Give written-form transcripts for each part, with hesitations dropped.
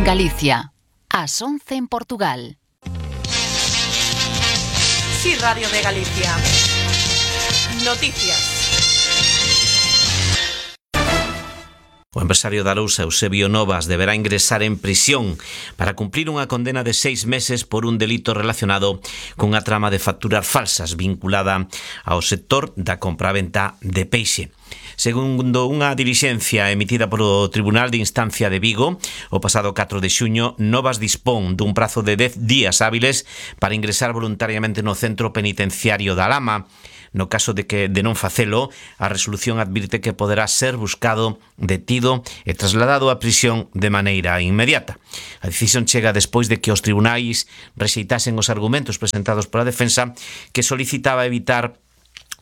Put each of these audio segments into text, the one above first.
Galicia, ás 11 en Portugal. Sí, Radio de Galicia. Noticias. O empresario da Lousa, Eusebio Novas, deberá ingresar en prisión para cumplir unha condena de 6 meses por un delito relacionado cunha trama de facturas falsas vinculada ao sector da compraventa de peixe. Segundo unha dilixencia emitida polo Tribunal de Instancia de Vigo, o pasado 4 de xuño, Novas dispón dun prazo de 10 días hábiles para ingresar voluntariamente no centro penitenciario da Lama. No caso de non facelo, a resolución advirte que poderá ser buscado, detido e trasladado á prisión de maneira inmediata. A decisión chega despois de que os tribunais rexeitasen os argumentos presentados pola defensa, que solicitaba evitar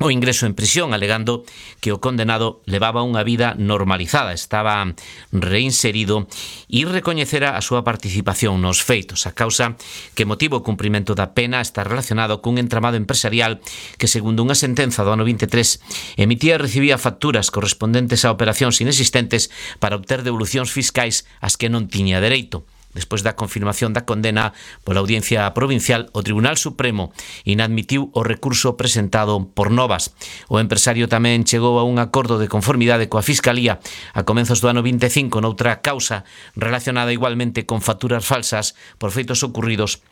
o ingreso en prisión, alegando que o condenado levaba unha vida normalizada, estaba reinserido e recoñecera a súa participación nos feitos. A causa que motiva o cumprimento da pena está relacionado cun entramado empresarial que, segundo unha sentenza do ano 23, emitía e recibía facturas correspondentes a operacións inexistentes para obter devolucións fiscais ás que non tiña dereito. Despois da confirmación da condena pola Audiencia Provincial, o Tribunal Supremo inadmitiu o recurso presentado por Novas. O empresario tamén chegou a un acordo de conformidade coa Fiscalía a comenzos do ano 25 noutra causa relacionada igualmente con facturas falsas por feitos ocurridos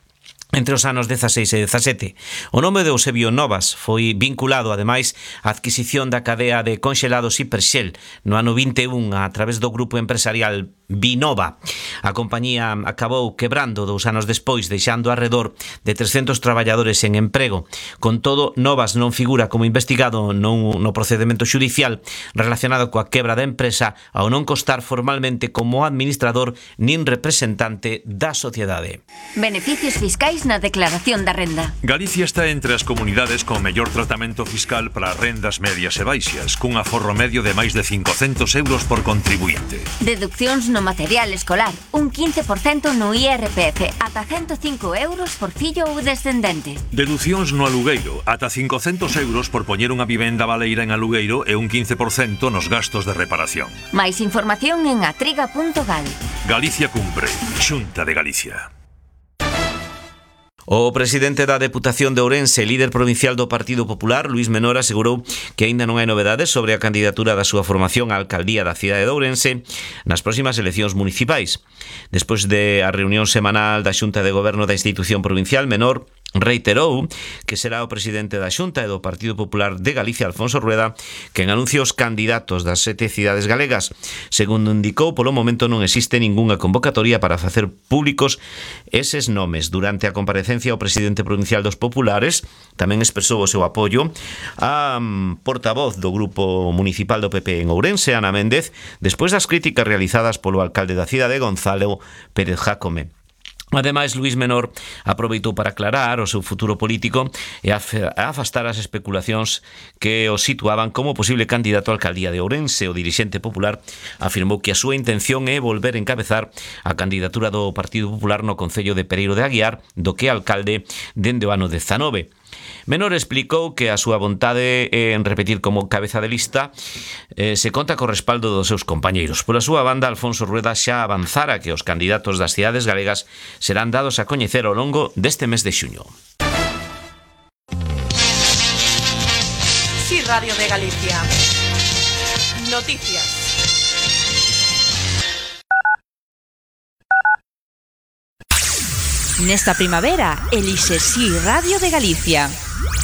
entre os anos 16 e 17. O nome de Eusebio Novas foi vinculado, ademais, á adquisición da cadea de conxelados Hiperxel no ano 21 a través do grupo empresarial Vinova. A compañía acabou quebrando 2 anos despois, deixando arredor de 300 traballadores en emprego. Con todo, Novas non figura como investigado no procedemento xudicial relacionado coa quebra da empresa, ao non constar formalmente como administrador nin representante da sociedade. Beneficios fiscais na declaración da renda. Galicia está entre as comunidades con mellor tratamento fiscal para rendas medias e baixas, cun aforro medio de máis de 500 euros por contribuinte. Deduccións no material escolar, un 15% no IRPF, ata 105 euros por fillo ou descendente. Deducións no alugueiro, ata 500 euros por poñer unha vivenda baleira en alugueiro e un 15% nos gastos de reparación. Máis información en atriga.gal. Galicia cumpre. Xunta de Galicia. O presidente da Deputación de Ourense, líder provincial do Partido Popular, Luís Menor, asegurou que aínda non hai novedades sobre a candidatura da súa formación á alcaldía da cidade de Ourense nas próximas eleccións municipais. Despois de a reunión semanal da Xunta de Goberno da institución provincial, Menor reiterou que será o presidente da Xunta e do Partido Popular de Galicia, Alfonso Rueda, quen anuncia os candidatos das 7 cidades galegas. Segundo indicou, polo momento non existe ningunha convocatoria para facer públicos eses nomes. Durante a comparecencia, o presidente provincial dos Populares tamén expresou o seu apoio á portavoz do Grupo Municipal do PP en Ourense, Ana Méndez, despois das críticas realizadas polo alcalde da cidade, Gonzalo Pérez Jácome. Ademais, Luís Menor aproveitou para aclarar o seu futuro político e afastar as especulacións que o situaban como posible candidato á alcaldía de Ourense. O dirixente popular afirmou que a súa intención é volver a encabezar a candidatura do Partido Popular no concello de Pereiro de Aguiar, do que é alcalde dende o ano 19. Menor explicou que a súa vontade en repetir como cabeza de lista se conta co respaldo dos seus compañeiros. Pola súa banda, Alfonso Rueda xa avanzara que os candidatos das cidades galegas serán dados a coñecer ao longo deste mes de xuño. Sí, Radio de Galicia. Noticias. Nesta primavera, elixe Sí Radio de Galicia.